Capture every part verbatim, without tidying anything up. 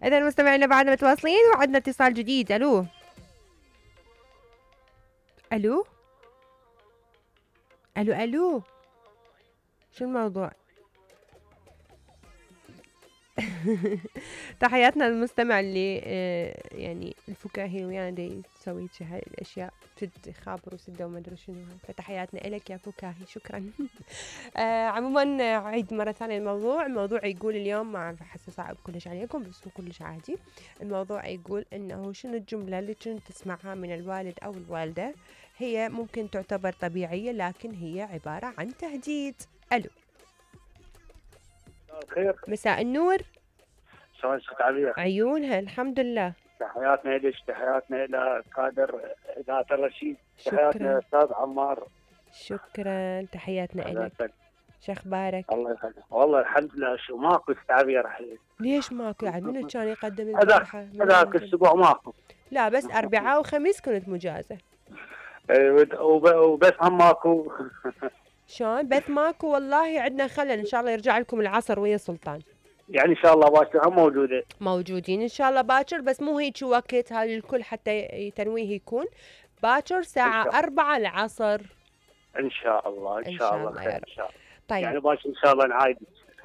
إذا مستمعينا بعدنا متواصلين وعندنا اتصال جديد. ألو ألو ألو ألو شو الموضوع؟ تحياتنا للمستمع اللي آه يعني الفكاهي ويانا دي تسوي هاي الاشياء تد خابر وسده وما ادري شنو. فتحياتنا لك يا فكاهي، شكرا. آه عموما عيد مره ثانيه الموضوع. الموضوع يقول اليوم، ما اعرف احسه صعب كلش عليكم بس هو كلش عادي. الموضوع يقول انه شنو الجمله اللي كنت تسمعها من الوالد او الوالده هي ممكن تعتبر طبيعيه لكن هي عباره عن تهديد. الو خير. مساء النور. شلون ست عبير؟ عيونها الحمد لله. تحياتنا لك، تحياتنا الى كادر اذاعه الرشيد، تحياتنا استاذ عمار. شكرا، تحياتنا لك. شو اخبارك؟ الله يخليك. والله الحمد لله. شو ماكو ست عبير الحين؟ ليش ماكو؟ يعني منو كان يقدم البارحه؟ هذاك الاسبوع ماكو. لا بس اربعاء وخميس كنت مجازه. وبس هم ماكو. شلون بث ماكو؟ والله عندنا خلل، ان شاء الله يرجع لكم العصر ويا سلطان. يعني ان شاء الله باكر هم موجوده. موجودين ان شاء الله باكر، بس مو هيك وقت هاي الكل حتى تنويه يكون باكر ساعة أربعة العصر. ان شاء الله ان شاء الله خير ان شاء الله. طيب يعني باكر ان شاء الله نعايد.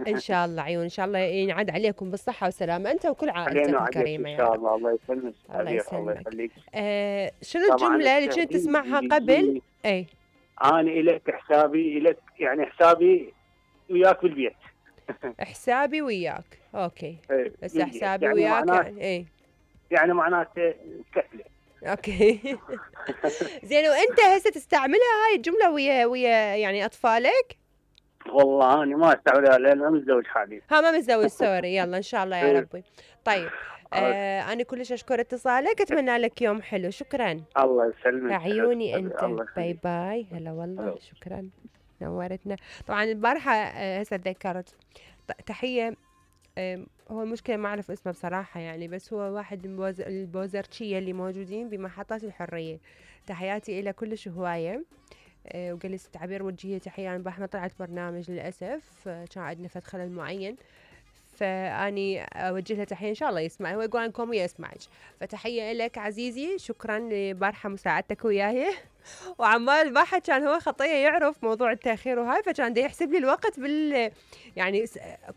ان شاء الله عيون، ان شاء الله ينعاد عليكم بالصحة والسلامة انت وكل عائلتك الكريمة ان شاء الله. الله يسلمك. الله يسلمك. آه شنو الجملة اللي كنت تسمعها قبل؟ اي انا الك حسابي الك، يعني حسابي وياك بالبيت. حسابي وياك اوكي. ايه بس حسابي يعني وياك يعني اي يعني معناته كفله. اوكي. زين، وانت هسه تستعملها هاي الجمله ويا ويا يعني اطفالك؟ والله انا ما استعملها لان ما متزوج حاليا. ها ما متزوج سوري. يلا ان شاء الله يا ربي. طيب آه انا كلش اشكر اتصالك، اتمنى لك يوم حلو. شكرا. الله يسلمك. عيوني انت. باي باي. هلا والله. شكرا نورتنا. طبعا البارحه هسه تذكرت تحيه. هو المشكلة ما أعرف اسمه بصراحة يعني، بس هو واحد من البوزرتشية اللي موجودين بمحطات الحرية. تحياتي إلى كلش هواية. أه وقال لي ست عبير وجهي تحية. أنا البارحة ما طلعت برنامج للأسف، كان عندنا فد خلل معين، فاني اوجه له تحيه ان شاء الله يسمع. هو يقول عنكم يسمعك، فتحيه لك عزيزي. شكرا لبارحه مساعدتك وياي. وعمال البارحه كان هو خطيه يعرف موضوع التاخير وهاي، فكان دا يحسب لي الوقت بال يعني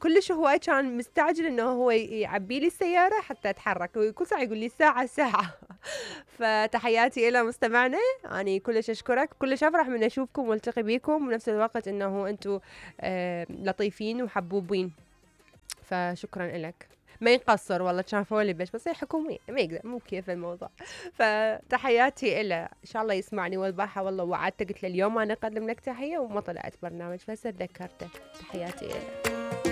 كلش هواي كان مستعجل انه هو يعبي لي السياره حتى اتحرك، وكل ساعه يقول لي ساعه ساعه. فتحياتي الى مستمعنا. اني كلش اشكرك، كلش افرح من اشوفكم والتقي بيكم، ونفس الوقت انه انتم آه لطيفين وحبوبين، فشكرا لك. ما ينقصر والله، كان فولي بس بس هي حكومية ما يقدر، مو كيف الموضوع. فتحياتي إله، إن شاء الله يسمعني. والبارحة والله وعدته قلت له اليوم أنا أقدم لك تحية وما طلعت برنامج، بس تذكرته. تحياتي إله.